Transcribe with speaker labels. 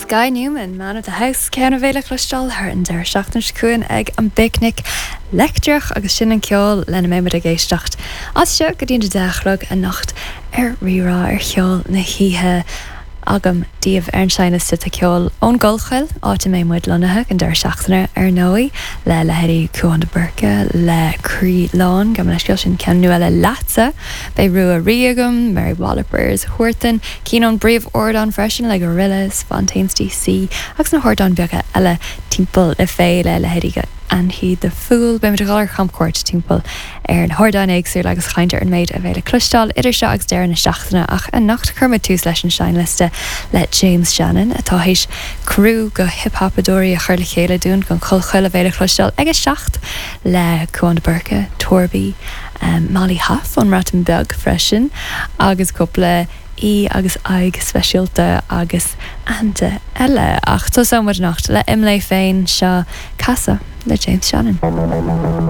Speaker 1: Guy Newman, Man of the House, ceann a bheidh le cloisteáil thar an deireadh seachtaine seo chugainn ag an bPicnic Leictreach agus sin an ceol lena mbeidh muid ag éisteacht as seo go dtí an 10 a chlog anocht ar Rí-Rá ar Cheol na hOíche. Agam daoibh ar an seinnliosta tá ceol ón gCollchoill, áit a mbeidh muid lonnaithe don deireadh seachtaine ar ndóigh, le leithéidí Cúán de Búrca, le Croí Lán, gabh mo leithscéal, sin ceann nua le Leatsa! Beidh Rua Rí agam, Mary Wallopers, Huartan, cinn ón bpríomh-ardán freisin le Gorillaz, Fontaines DC agus na hardáin beaga eile timpeall na féile, leithéidí Anthony the Fool. Beidh muid ag dul ar chamchuairt timpeall ar na hardáin éagsúla agus caint ar an méid a bheidh le cloisteáil idir seo agus deireadh na seachtaine ach anocht chuir muid tús leis an seinnliosta le James Shannon atá théis criú de hip-hapadóirí a chur le chéile dúinn don Chollchoill a bheidh le cloisteáil ag 7 le Cúán de Búrca, Torby, Molly Haff ón mBreatain Bheag freisin agus cúpla aoi agus aghaidh speisialta agus aitheanta eile. Ach tosóidh muid anocht le Imlé féin, seo Casadh le James Shannon.